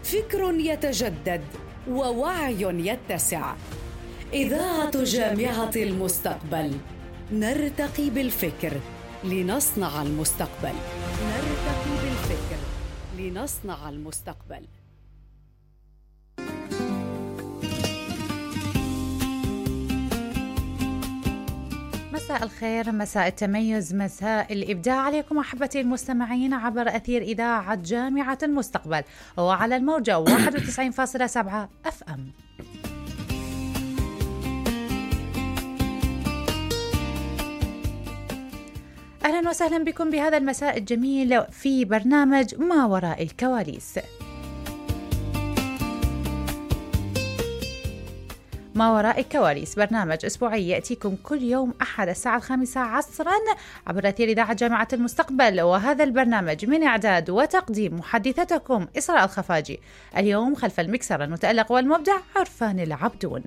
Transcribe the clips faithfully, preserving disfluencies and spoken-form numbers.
فكر يتجدد ووعي يتسع. إذاعة جامعة المستقبل، نرتقي بالفكر لنصنع المستقبل. نرتقي بالفكر لنصنع المستقبل. مساء الخير، مساء التميز، مساء الإبداع عليكم أحبتي المستمعين عبر أثير إذاعة جامعة المستقبل وعلى الموجة واحد وتسعين فاصلة سبعة أف أم. أهلا وسهلا بكم بهذا المساء الجميل في برنامج ما وراء الكواليس. ما وراء الكواليس برنامج أسبوعي يأتيكم كل يوم أحد الساعة الخامسة عصرا عبر أثير إذاعة جامعة المستقبل، وهذا البرنامج من إعداد وتقديم محدثتكم إسراء الخفاجي. اليوم خلف المكسر المتألق والمبدع عرفان العبدون.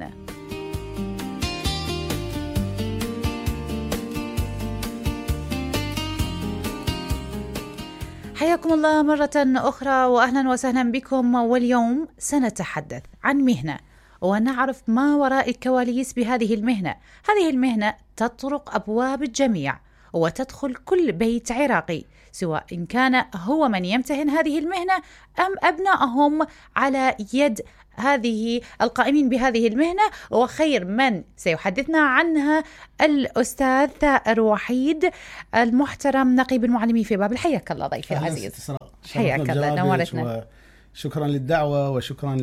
حياكم الله مرة أخرى وأهلا وسهلا بكم. واليوم سنتحدث عن مهنة ونعرف ما وراء الكواليس بهذه المهنة. هذه المهنة تطرق أبواب الجميع وتدخل كل بيت عراقي، سواء إن كان هو من يمتهن هذه المهنة أم أبنائهم على يد هذه القائمين بهذه المهنة. وخير من سيحدثنا عنها الأستاذ ثائر وحيد المحترم نقيب المعلمين في بابل. حياك الله ضيفي العزيز. حياك الله، نورتنا. شكرا للدعوة وشكرا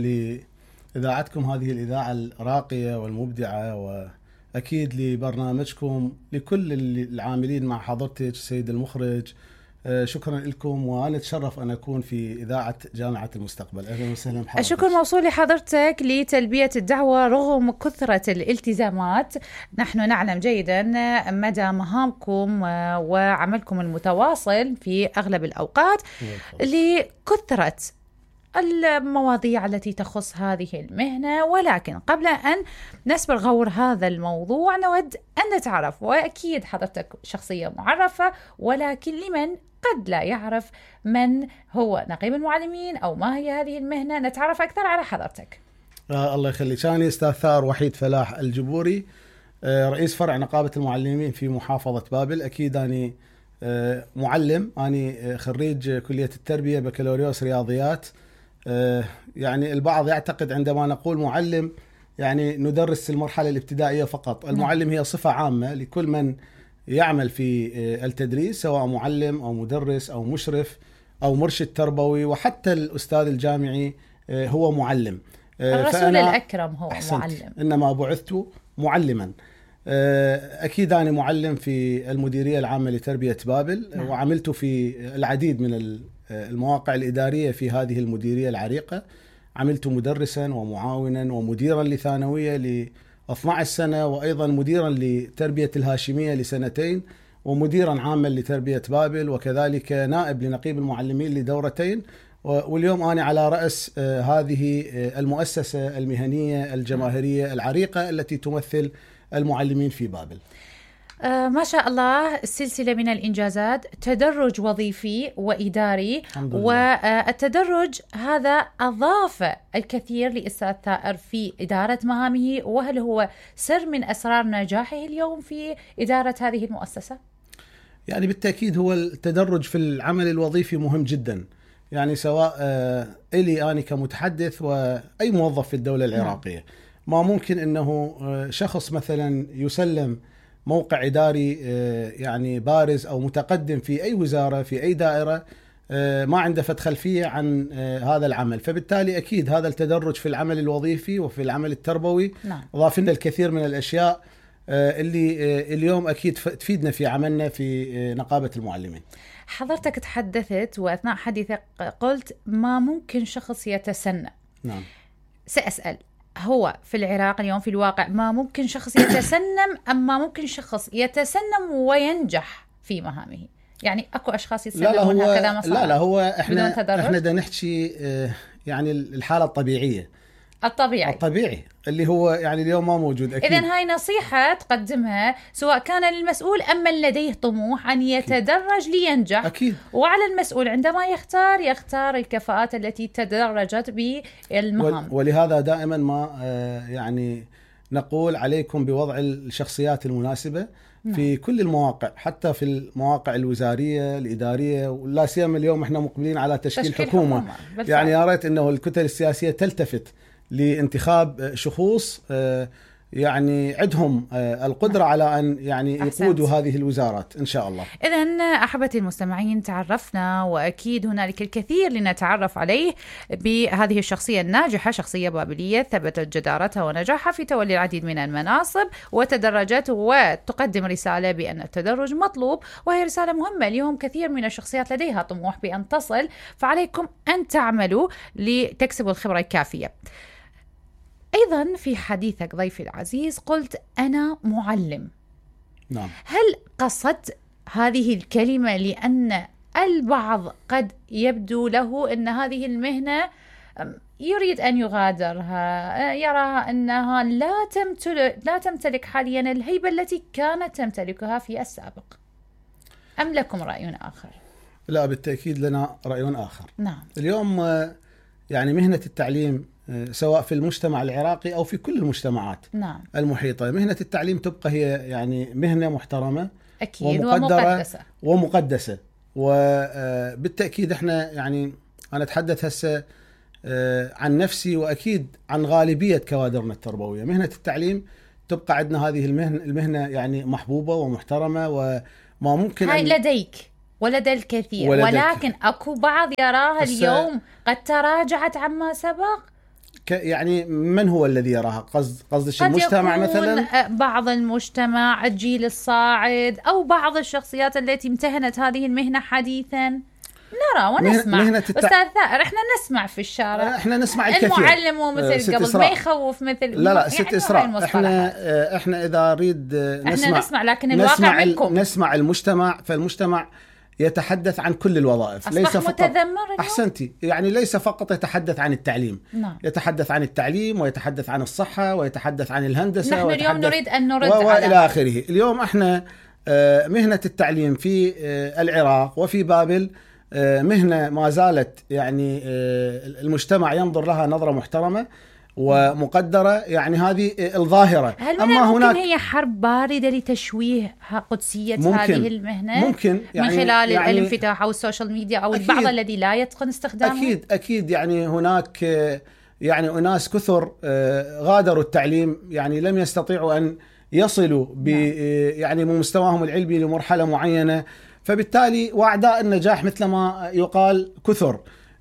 لإذاعتكم هذه الإذاعة الراقية والمبدعة، وأكيد لبرنامجكم، لكل العاملين مع حضرتك السيد المخرج. شكرا لكم، وأنا أتشرف أن أكون في إذاعة جامعة المستقبل. أهلا وسهلا بحضرتك. الشكر موصول لحضرتك لتلبية الدعوة رغم كثرة الالتزامات. نحن نعلم جيدا مدى مهامكم وعملكم المتواصل في أغلب الأوقات لكثرة المواضيع التي تخص هذه المهنة. ولكن قبل أن نسبر غور هذا الموضوع نود أن نتعرف، وأكيد حضرتك شخصية معرفة، ولكن لمن قد لا يعرف من هو نقيب المعلمين أو ما هي هذه المهنة، نتعرف أكثر على حضرتك. آه الله يخليك. أنا أستاذ ثائر وحيد فلاح الجبوري، آه رئيس فرع نقابة المعلمين في محافظة بابل. أكيد أنا آه معلم، أنا خريج كلية التربية بكالوريوس رياضيات. آه يعني البعض يعتقد عندما نقول معلم يعني ندرس المرحلة الابتدائية فقط. المعلم هي صفة عامة لكل من يعمل في التدريس، سواء معلم أو مدرس أو مشرف أو مرشد تربوي، وحتى الأستاذ الجامعي هو معلم. الرسول الأكرم هو معلم، إنما بعثت معلما. أكيد أنا معلم في المديرية العامة لتربية بابل. نعم. وعملت في العديد من المواقع الإدارية في هذه المديرية العريقة. عملت مدرسا ومعاونا ومديرا لثانوية ل اثنتي عشرة سنة، وأيضا مديرا لتربية الهاشمية لسنتين، ومديرا عاما لتربية بابل، وكذلك نائب لنقيب المعلمين لدورتين. واليوم أنا على رأس هذه المؤسسة المهنية الجماهيرية العريقة التي تمثل المعلمين في بابل. آه ما شاء الله، سلسلة من الإنجازات، تدرج وظيفي وإداري، والتدرج هذا أضاف الكثير لأستاذ ثائر في إدارة مهامه. وهل هو سر من أسرار نجاحه اليوم في إدارة هذه المؤسسة؟ يعني بالتأكيد هو التدرج في العمل الوظيفي مهم جدا، يعني سواء آه إلي أنا كمتحدث وأي موظف في الدولة العراقية. ما ممكن أنه آه شخص مثلا يسلم موقع إداري يعني بارز أو متقدم في أي وزارة في أي دائرة ما عنده فت خلفية عن هذا العمل. فبالتالي أكيد هذا التدرج في العمل الوظيفي وفي العمل التربوي ضاف لنا الكثير من الأشياء اللي اليوم أكيد تفيدنا في عملنا في نقابة المعلمين. حضرتك تحدثت وأثناء حديثك قلت ما ممكن شخص يتسنى. نعم. سأسأل، هو في العراق اليوم في الواقع ما ممكن شخص يتسنم أم ما ممكن شخص يتسنم وينجح في مهامه؟ يعني أكو أشخاص يتسنمون هكذا مصاري. لا لا هو إحنا إحنا دا نحكي يعني الحالة الطبيعية. الطبيعي الطبيعي اللي هو يعني اليوم ما موجود. أكيد. إذن هاي نصيحة تقدمها سواء كان للمسؤول أم من لديه طموح أن يتدرج لينجح. أكيد. وعلى المسؤول عندما يختار يختار الكفاءات التي تدرجت بالمهام. ولهذا دائما ما يعني نقول عليكم بوضع الشخصيات المناسبة في كل المواقع، حتى في المواقع الوزارية الإدارية، ولا سيما اليوم احنا مقبلين على تشكيل, تشكيل حكومة, حكومة. يعني يا ريت انه الكتل السياسية تلتفت لانتخاب شخوص يعني عندهم القدرة على أن يعني يقودوا هذه الوزارات إن شاء الله. إذن أحبتي المستمعين، تعرفنا وأكيد هنالك الكثير لنتعرف عليه بهذه الشخصية الناجحة، شخصية بابلية ثبتت جدارتها ونجاحها في تولي العديد من المناصب وتدرجت وتقدم رسالة بأن التدرج مطلوب، وهي رسالة مهمة. اليوم كثير من الشخصيات لديها طموح بأن تصل، فعليكم أن تعملوا لتكسبوا الخبرة الكافية. أيضا في حديثك ضيفي العزيز قلت أنا معلم. نعم. هل قصدت هذه الكلمة لأن البعض قد يبدو له أن هذه المهنة يريد أن يغادرها، يراها أنها لا تمتلك, لا تمتلك حاليا الهيبة التي كانت تمتلكها في السابق، أم لكم رأي آخر؟ لا، بالتأكيد لنا رأي آخر. نعم. اليوم يعني مهنة التعليم سواء في المجتمع العراقي أو في كل المجتمعات نعم. المحيطة، مهنة التعليم تبقى هي يعني مهنة محترمة أكيد ومقدرة ومقدسة ومقدسة وبالتأكيد احنا يعني أنا أتحدث هسه عن نفسي وأكيد عن غالبية كوادرنا التربوية. مهنة التعليم تبقى عندنا هذه المهنة, المهنة يعني محبوبة ومحترمة، وما ممكن هاي أن لديك ولدى الكثير، ولديك. ولكن أكو بعض يراها اليوم قد تراجعت عما سبق. يعني من هو الذي يراها؟ قصد قصدش المجتمع مثلا؟ بعض المجتمع، الجيل الصاعد، أو بعض الشخصيات التي امتهنت هذه المهنة حديثا. نرى ونسمع. مهنة التع... أستاذ ثائر، احنا نسمع في الشارع، احنا نسمع الكثير. المعلم ومثل قبل إسراء. ما يخوف مثل لا لا ست يعني إسراء. احنا احنا إذا أريد نسمع احنا نسمع لكن الواقع نسمع منكم. نسمع المجتمع، فالمجتمع يتحدث عن كل الوظائف، ليس فقط أحسنتي يعني ليس فقط يتحدث عن التعليم. نعم. يتحدث عن التعليم ويتحدث عن الصحة ويتحدث عن الهندسة. نحن اليوم نريد أن نرد على آخره. اليوم احنا مهنة التعليم في العراق وفي بابل مهنة ما زالت يعني المجتمع ينظر لها نظرة محترمة ومقدرة، يعني هذه الظاهرة. هل أما ممكن هناك هي حرب باردة لتشويه قدسية ممكن هذه المهنة ممكن يعني من خلال يعني الانفتاح أو السوشيال ميديا أو البعض الذي لا يتقن استخدامه؟ أكيد أكيد يعني هناك يعني أناس كثر غادروا التعليم، يعني لم يستطيعوا أن يصلوا ب يعني مستواهم العلمي لمرحلة معينة، فبالتالي وأعداء النجاح مثل ما يقال كثر.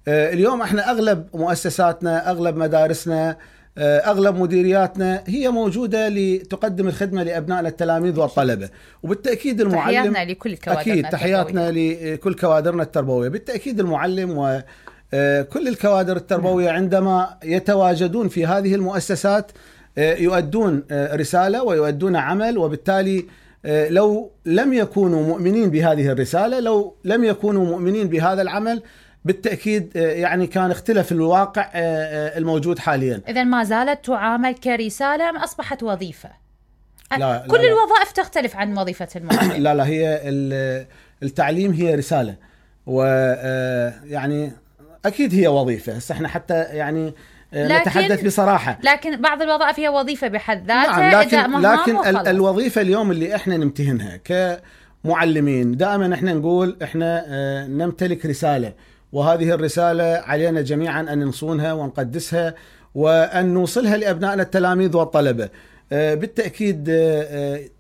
اليوم احنا اغلب مؤسساتنا، اغلب مدارسنا، اغلب مديرياتنا هي موجوده لتقدم الخدمه لابنائنا التلاميذ والطلبه، وبالتاكيد المعلم تحياتنا لكل كوادرنا اكيد تحياتنا لكل كوادرنا التربويه. بالتاكيد المعلم وكل الكوادر التربويه عندما يتواجدون في هذه المؤسسات يؤدون رساله ويؤدون عمل، وبالتالي لو لم يكونوا مؤمنين بهذه الرساله، لو لم يكونوا مؤمنين بهذا العمل، بالتأكيد يعني كان اختلف الواقع الموجود حاليا. إذن ما زالت تعامل كرسالة أم أصبحت وظيفة؟ لا كل لا الوظائف تختلف عن وظيفة المعلم. لا لا هي التعليم هي رسالة، ويعني أكيد هي وظيفة. هسه احنا حتى يعني نتحدث بصراحة، لكن بعض الوظائف هي وظيفة بحد ذاتها. نعم، لكن, لكن الوظيفة اليوم اللي احنا نمتهنها كمعلمين دائما احنا نقول احنا نمتلك رسالة، وهذه الرسالة علينا جميعا أن نصونها ونقدسها وأن نوصلها لأبنائنا التلاميذ والطلبة. بالتأكيد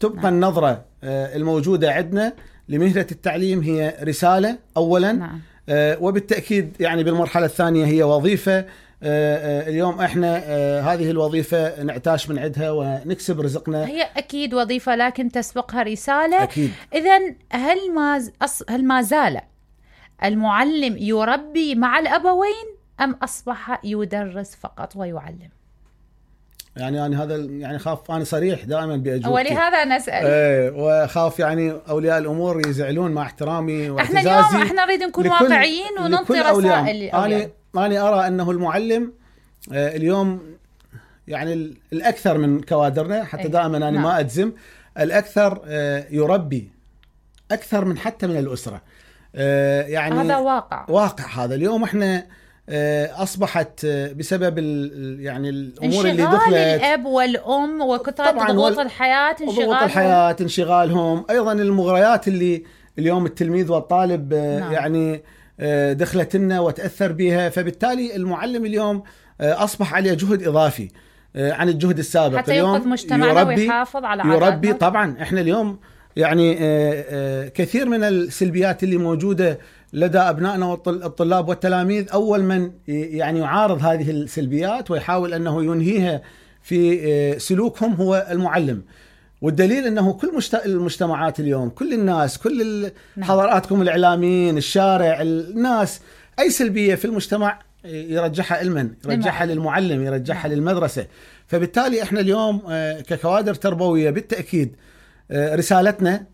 تبقى النظرة الموجودة عندنا لمهنة التعليم هي رسالة أولا. نعم. وبالتأكيد يعني بالمرحلة الثانية هي وظيفة. اليوم احنا هذه الوظيفة نعتاش من عندها ونكسب رزقنا. هي أكيد وظيفة لكن تسبقها رسالة. أكيد. إذن هل ما هل ما زال المعلم يربي مع الأبوين أم أصبح يدرس فقط ويعلم؟ يعني أنا هذا يعني خاف أنا صريح دائما بأجوبتي، ولهذا نسأل. ايه وخاف يعني أولياء الأمور يزعلون مع احترامي واعتزازي. احنا اليوم احنا نريد نكون واقعيين وننطي رسائل. أنا أنا أرى أنه المعلم اليوم يعني الأكثر من كوادرنا، حتى دائما أنا نعم. ما أجزم، الأكثر يربي أكثر من حتى من الأسرة. يعني هذا واقع واقع هذا. اليوم احنا أصبحت بسبب يعني الأمور اللي دخلت، الأب والأم وكثرة ضغوط الحياة، ضغوط الحياة، انشغالهم، أيضا المغريات اللي اليوم التلميذ والطالب نعم. يعني دخلت لنا وتأثر بها. فبالتالي المعلم اليوم أصبح عليه جهد إضافي عن الجهد السابق. حتى ينقذ مجتمعنا ويحافظ على عاداتنا. يربي طبعا. احنا اليوم يعني كثير من السلبيات اللي موجودة لدى أبنائنا والطلاب والتلاميذ، أول من يعني يعارض هذه السلبيات ويحاول أنه ينهيها في سلوكهم هو المعلم. والدليل أنه كل المجتمعات اليوم، كل الناس، كل حضراتكم الإعلاميين، الشارع، الناس، أي سلبية في المجتمع يرجعها علما، يرجعها للمعلم، يرجعها للمدرسة. فبالتالي احنا اليوم ككوادر تربوية بالتأكيد رسالتنا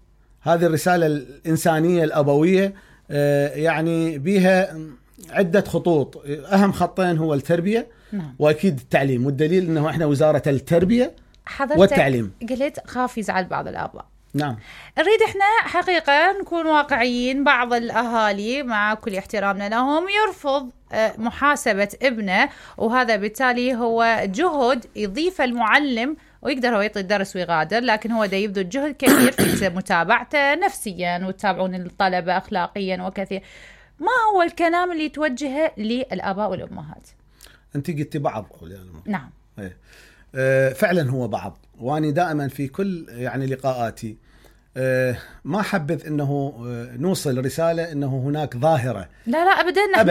هذه الرسالة الإنسانية الأبوية يعني بها عدة خطوط. أهم خطين هو التربية نعم. وأكيد التعليم. والدليل أنه إحنا وزارة التربية والتعليم. قلت خاف يزعل بعض الآباء. نعم. نريد إحنا حقيقة نكون واقعيين. بعض الأهالي مع كل احترامنا لهم يرفض محاسبة ابنه، وهذا بالتالي هو جهد يضيف المعلم ويقدر هو يعطي الدرس ويغادر، لكن هو دا يبذل جهد كبير في متابعته نفسيا وتتابعون الطلبة أخلاقيا وكثير. ما هو الكلام اللي توجهه للآباء والأمهات؟ أنت قلتي بعض. نعم. ايه. أه فعلا هو بعض. وأنا دائما في كل يعني لقاءاتي أه ما حبذ أنه نوصل رسالة أنه هناك ظاهرة. لا لا أبدا. أبداً.